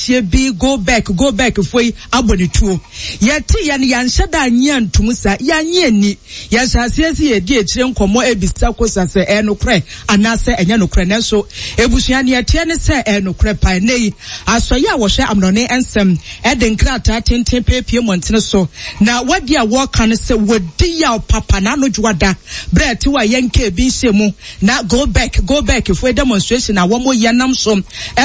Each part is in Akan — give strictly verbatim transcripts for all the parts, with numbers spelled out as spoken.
Aberanteɛ bi go back go back foɔ yi abɔ ne tuo. Yɛte yɛ no, yɛanhyɛ da annye antom saa, yɛannye anni. Yɛhyɛ aseɛ sɛ yɛredi akyire nkɔmmɔ rebisa kosa sɛ ɛyɛ nokorɛ anaasɛ ɛnyɛ nokorɛ. Nanso abusua, nea ɛteɛ ne sɛ ɛyɛ nokorɛ paa. Ɛnnɛ yi, asɔeɛ a wɔhwɛ amanɔne nsɛm de nkrataa tenten peepie mmɔntene so, na wɔadi a wɔreka ne sɛ wɔdi yaw papa na ano dwoada berɛ a ɛte hɔ a yɛnka ebi nhyɛ mu. Na go back go back foɔ demonstration a wɔn yɛ nam so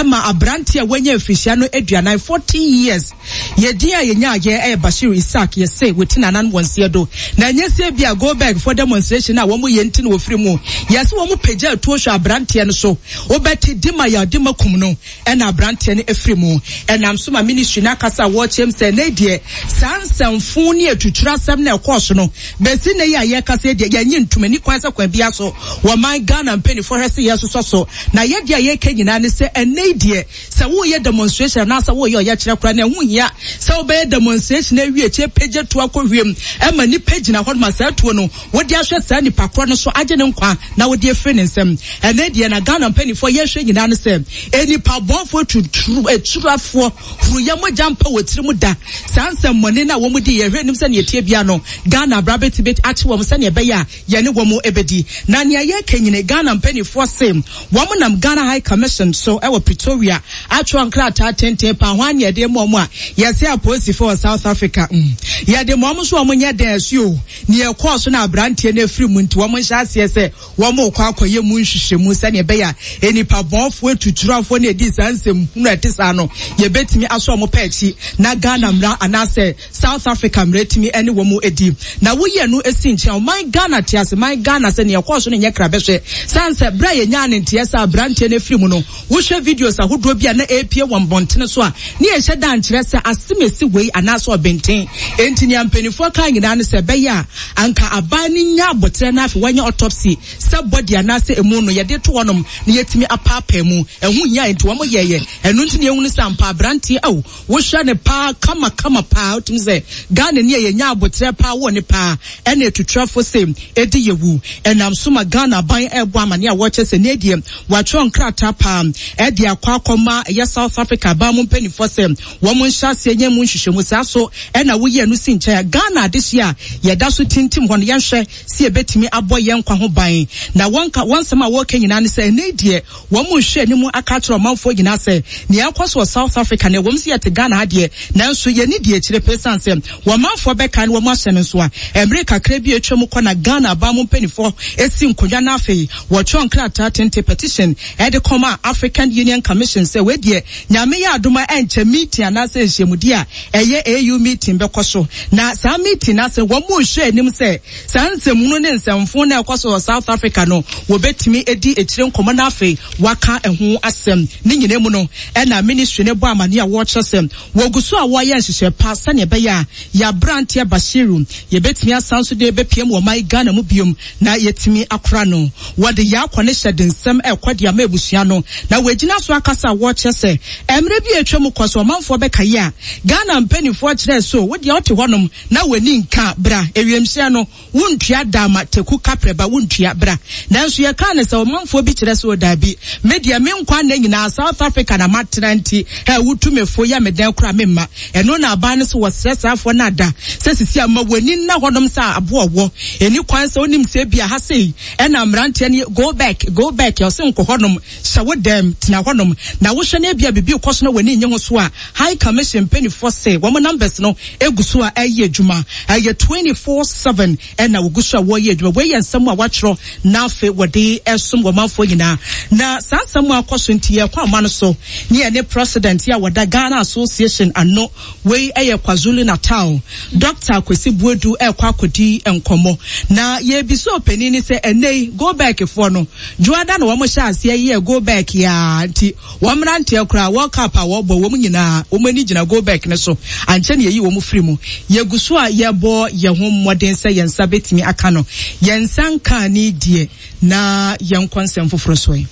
ma abranteɛ a wanya mfirihyia no aduanan, forty years. Yɛ din a yɛnya yɛ ɛyɛ Bashir Isaac, yɛ se wɔti nanan wɔn seɛ do. Na ɛnyɛ sɛ bi a go back foɔ demonstration a wɔn yɛ nti na wɔfiri mu. Yɛ se wɔn pagya atuo hwɛ abranteɛ no so, wobɛte dima yɛ dima kum no ɛna abranteɛ no afiri mu. Ɛnam so ma ministry no akasa a wɔkyerɛm sɛ ɛnɛ deɛ saa nsɛmfo ne atuturu asɛm na ɛkɔɔ so no, bɛsi nnɛ yi a yɛkasa yi deɛ, yɛnnye ntom ani kwan sɛ kwan biara so wɔman Ghana mpanimfoɔ hwɛ sɛ yɛsosɔ so. Na yɛ deɛ a yɛka nyinaa ne sɛ ɛnnɛ yi deɛ, sɛ woreyɛ demonstration anaasɛ woreyɛ ɔyɛkyerɛ koraa no, ɛho nhia sɛ wobɛyɛ demonstration awie akyire pagya tuo akɔ wiem ma nnipa gyina hɔ ma saa tuo no wode ahwɛ saa nipa korɔ no so agye ne nkwa na wode afiri ne nsam. Ɛnnɛ deɛ na Ghana mpanimfoɔ yɛhwɛ nyinaa ne sɛ nnipa bɔnfoɔ tuturu aturafoɔ huruyɛ mogya mpa wɔ tirim da. Saa nsɛmmɔne no a wɔn di yɛhwɛ anim sɛnea ɛteɛ biara no, Ghana abra bɛtumi akye wɔn sɛnea ɛbɛyɛ a yɛne wɔn bɛdi. Na nea yɛreka nyina, Ghana mpanimfoɔ se wɔn nam Ghana High Commission so wɔ Pretoria atwerɛ nkrataa tenten paa ho a ne yɛde ma wɔn a yɛse apolisifoɔ wɔ South Africa mm yɛde ma wɔn nso wɔn nyɛ dɛn ɛso o. Nea ɛkɔɔ so na aberanteɛ no afiri mu nti wɔn nhyɛ aseɛ sɛ wɔn rekɔ akɔyɛ mu nhwehwɛmu sɛnea ɛbɛyɛ a nnipa bɔnfoɔ atuturafoɔ na ɛdi saa nsɛm hunu a ɛte saa no yɛbɛtumi asɔ wɔn pɛ akyi na Ghana mmara anaasɛ South Africa mmara atumi ne wɔn adi. Na woyi ɛno si nkyɛn, ɔman Ghana te ase, man Ghana sɛ nea ɛkɔɔ so no nyɛ krabɛhwɛ. Sane sɛ berɛ a yɛnyaa ne nteɛ sɛ aberanteɛ no afiri mu no, wohwɛ videos ahodoɔ bi a na ɛrepue wɔ mmɔntene so a, ne yɛnhyɛ da nkyerɛ sɛ asemesi wei anaasɛ ɔbenten. Enti nea mpanimfoɔ kaa nyinaa ne sɛ ɛbɛyɛ a anka aban no nya aboterɛ na afei wɔnyɛ autopsy sɛ body anaasɛ emu no yɛde to hɔnom na yɛtumi apaapaa mu. Ɛho hia enti wɔn yɛeɛ. Ɛno nti na yɛhunu sɛ ampa aberanteɛ ao, wohwɛ no paa kama kama paa wotumi sɛ Ghana ni a yɛnya aboterɛ paa wɔ ne paa ɛna atuturafo se ɛdi yɛwu. Ɛnam so ma Ghana aban ɛrebɔ amaneɛ a wɔkyɛ sɛ ne deɛ wɔatwerɛ nkrataa paa ɛde akɔ akɔma ɛyɛ South Africa aban mu mpanimfoɔ sɛ wɔn nhyɛ aseɛ nyɛ mu nhwehwɛmu. Saa so ɛna woyɛ no si nkyɛn a Ghana adehye a yɛda so tintim hɔ no yɛnhwɛ sɛ yɛbɛtumi abɔ yɛn nkwa ho ban. Na wɔn ka wɔn nsɛm a wɔreka nyinaa ne sɛ ɛnɛ deɛ wɔn nhwɛ anim aka akyerɛ ɔmanfoɔ nyinaa sɛ nea ɛkɔ so wɔ South Africa no, ɛwom sɛ yɛte Ghana ha deɛ, nanso yɛnni deɛ akyire pɛ esiane sɛ wɔn manfoɔ bɛkae na wɔn ahyɛ no nso a, mmere kakra bi a atwam kɔ na Ghana aban mu mpanimfoɔ si nkonnwa na afei wɔtwerɛ nkrataa tenten, petition, de kɔma African Union Commission sɛ wei deɛ Nyame yɛ adom a ɛnkyɛ meeting anaasɛ nhyiamudie a ɛyɛ A U meeting bɛkɔ so, na saa meeting no ase wɔn rehwɛ anim sɛ saa nsɛmhunu ne nsɛmfo no a ɛkɔ so wɔ South Africa no wɔbɛtumi adi akyire nkɔmmɔ na afei wɔaka ɛho asɛm. Ne nyinaa mu no ɛna ministry no bɔ amaneɛ a wɔrekyerɛ sɛ wɔgu so a wɔreyɛ nhyehyɛe pa sɛnea ɛbɛyɛ a yɛn aberanteɛ Bashiru yɛbɛtumi asan so de bɛpiem wɔ ɔman Ghana mu biom na yɛatumi akora no. Wɔde yɛn akɔ ne hyɛ de nsɛm rekɔ de ama abusua no na wɔagyina so akasa a wɔrekyerɛ sɛ mmerɛ bi a atwa mu kɔ so ɔmanfoɔ bɛkae a Ghana mpanimfoɔ kyerɛɛ so wo deɛ wote hɔnom na w'ani nka bra ewiemhyɛn no wontua da ama Teku Kaprɛ ba wontua bra. Nanso yɛkaa no sɛ ɔmanfoɔ bi kyerɛ sɛ o daabi, me deɛ me nkwa nna nyinaa South Africa na matena nti hɛ wotu me fo yɛ me dɛn koraa memma. Ɛno na aban no sɛ wɔsrɛ saafoɔ no ada sɛ sisi a ma w'ani nna hɔnom sɛ aboa ɔwɔ ɛni kwan sɛ wonim sɛ ebia ha sei ɛna mmeranteɛ no go back go back ɔse nkɔ hɔnom, hyɛ wo dɛm tena hɔnom na wohwɛ na ebia biribi rekɔ so na w'ani nnye ho so a High Commission mpaninfoɔ se wɔn numbers no gu so a ɛreyɛ adwuma. Ɛyɛ twenty four seven ɛna wɔgu so a wɔreyɛ adwuma. Wei yɛ nsɛm a wɔatwerɛ na afei wɔde resom wɔn manfoɔ nyinaa. Na saa nsɛm a akɔ so nti yɛrekɔ ama no so ne yɛne President yi a wɔda Ghana Association ano, wei yɛ KwaZulu Natal, Doctor Kwesi Boadu rekɔ akɔdi nkɔmmɔ. Na yɛrebisa ɔpanin no sɛ ɛnnɛ yi Go Back foɔ no, Dwoada na wɔhyɛ aseɛ yɛɛ Go Back yi ara nti wɔn mmeranteɛ koraa, World Cup a wɔbɔ, wɔn nyinaa, wɔn ani gyina Go Back no so. Ankyɛ na yɛyi wɔn firi mu. Yɛgu so a yɛrebɔ yɛn ho mmɔden sɛ yɛn nsa bɛtumi aka no. Yɛn nsa nkaa ne deɛ, na yɛnkɔ nsɛm foforɔ so ɛ.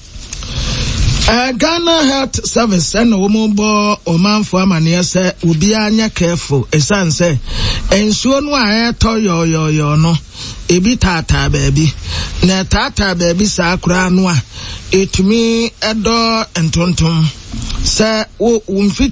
Uh, Ghana Health Service ɛna wɔn bɔ ɔmanfoɔ amaneɛ sɛ obiara nyɛ careful ɛsiane sɛ nsuo no a ɛretɔ yɔɔyɔɔyɔɔ no ebi taataa baabi na ɛtaataa baabi saa koraa no a ɛtumi ɛdɔ ntontom sɛ wo wo mfiti